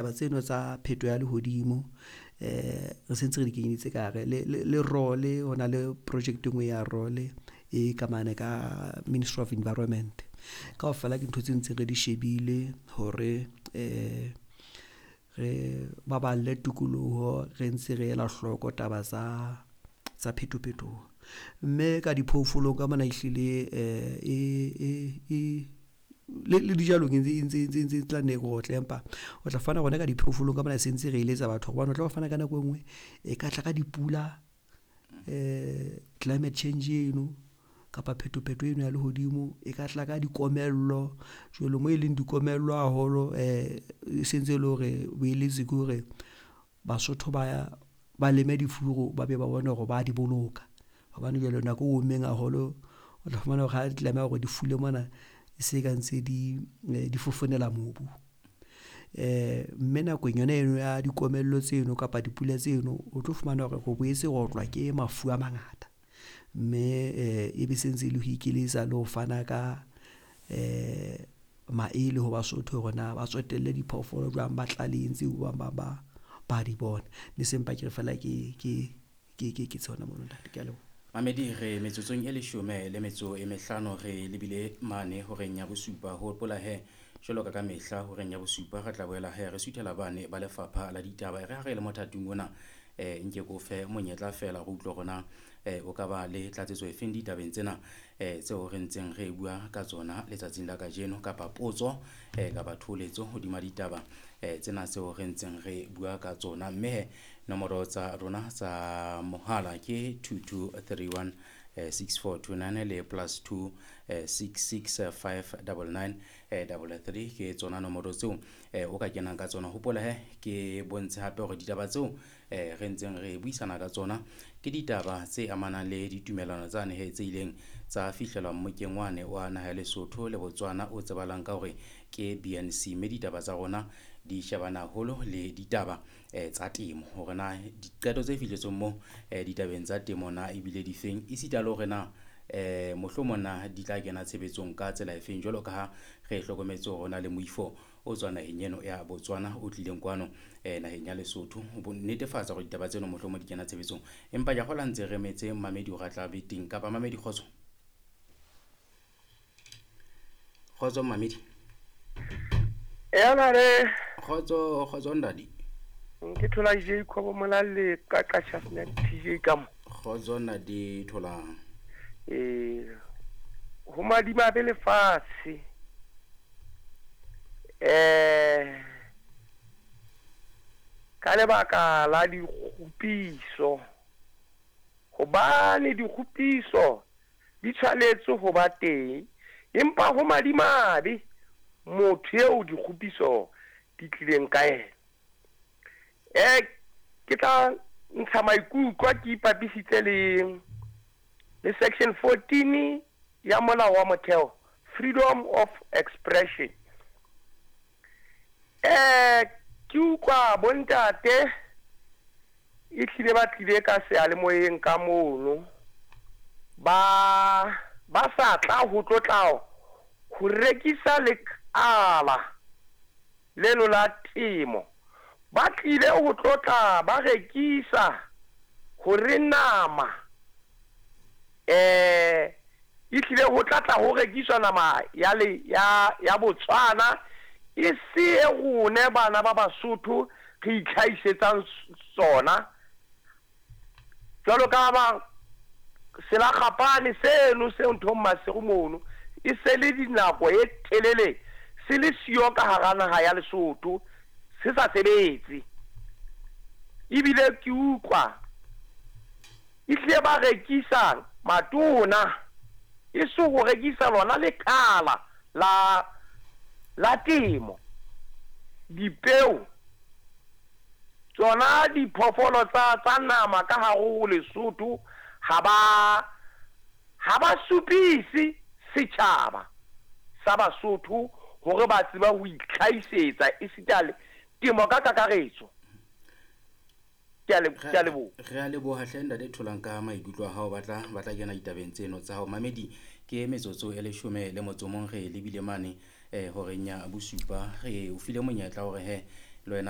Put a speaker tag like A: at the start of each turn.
A: Taba tseno tsa pheto ya lehodimo re sentse re di kenyeditse ka hare le role, ho na le project e nngwe ya role e ka mane ka Ministry of Environment. Kaofela ke ntho tse ntse re di shebile hore re baballe tikoloho, re ntse re ela hloko taba tsa phetophetoho. Mme ka diphoofolong ka mona ehlile e le dijalong e ntse tla nne e re otle, empa o tla fumana rona ka diphoofolong ka mona e sentse re eletsa batho hobane o tla fumana ka nako e nngwe e ka tla ka dipula climate change eno kapa phetophetoho eno ya lehodimo e ka tla ka dikomello. Jwale mo e leng dikomello haholo e sentse e le hore boeletsi ke hore Basotho ba leme difuru, ba be ba bone hore ba di boloka. Hobane jwale nako e ommeng haholo, o tla fumana hore ha di tlameha hore di fule mona, e se ka ntse di fofonela mobu. Mme nakong yona eno ya dikomello tseno kapa dipula tseno, o tlo fumana hore re boetse re otlwa ke mafu a mangata. Mme ebe sentse e le ho ikeletsa le ho fana ka maele ho Basotho hore na ba tsotelle diphoofolo jwang, ba tlaleng tseo ba di bona. Ne se mpa ke re feela ke tsona mono ntate, ke a leboha.
B: Mamedi, re metsotsong e 15 re lebile mane horeng ya bosupa. Hopola he jwalo ka mehla horeng ya bosupa re tla boela he re suthela bane ba lefapha la ditaba. E re ha re le mothating ona nke ko fe monyetla feela re utlwe hore na o ka ba le tlatsetso e feng ditabeng tsena tseo re ntseng re bua ka tsona letsatsing la kajeno, kapa potso kapa thoholetso hodima ditaba tsena tseo re ntseng re bua ka tsona. Mme he nomoro tsa rona tsa mohala ke 2231 6429 le plus 2 66 599 33 ke tsona nomoro tseo o ka kenang ka tsona. Hopola he ke bontshe hape hore ditaba tseo re ntseng re buisana ka tsona ke ditaba tse amanang le ditumellano tsane he tse ileng tsa fihlelwa mmokeng wane wa naha ya Lesotho le Botswana o tsebahalang ka hore ke BNC. Mme ditaba tsa rona di shebana haholo le ditaba tsa temo, hore na diqeto tse fihletsweng mo ditabeng tsa temo na ebile di feng, esita le hore na mohlomong na di tla kena tshebetsong ka tsela efeng, jwalo ka ha re hlokometse hore na le moifo o tswa naheng eno ya Botswana o tlileng kwano naheng ya Lesotho ho netefatsa hore ditaba tseno mohlomong di kena tshebetsong. Empa ke a kgolwa ntse re emetse mamedi hore a tla be teng, kapa mamedi kgotso. Kgotso mamedi.
C: Ena re
B: kgotso, kgotso ndadi.
C: Ke thola J Khobo Molalle ka Qachasnet TJ ka mo.
B: Kgotso ndadi tholang.
C: Ho madimabe lefatshe. Ka lebaka la dikgopiso, hobane dikgopiso di tshwanetse ho ba teng, empa ho madimabe motho eo dikgopiso di tlileng ka yena. Ke tla ntsha maikutlo ke ipapisitse le section 14 ya molao wa motheo, freedom of expression. Ke utlwa bontate e hlile ba tlile ka seyalemoyeng ka mono, ba sa tla ho tlotla ho rekisa lekala leno la temo, ba tlile ho tlotla ba rekisa hore nama e hlile ho tlatla ho rekiswa nama ya le ya Botswana, e se rone bana ba Basotho re itlhahisetsang tsona. Jwalo ka ba selakgapane seno se nthong Maseru mono, e se le dinako e telele se le siyo ka hara naha ya Lesotho, se sa sebetse. Ebile ke utlwa e hlile ba rekisa matona, e se ho rekisa lona lekala la temo, dipeo tsona diphoofolo tsa nama ka hare ho Lesotho ha ba supise setjhaba sa Basotho hore ba tseba ho itlhahisetsa esita le temo ka kakaretso. Ke a leboha.
B: Re a leboha hle ntate Tholang ka maikutlo a hao, ba tla kena ditabeng tseno tsa hao. Mamedi, ke metsotso e 11 re lebile mane horeng ya bosupa. Re o file monyetla hore he Le wena.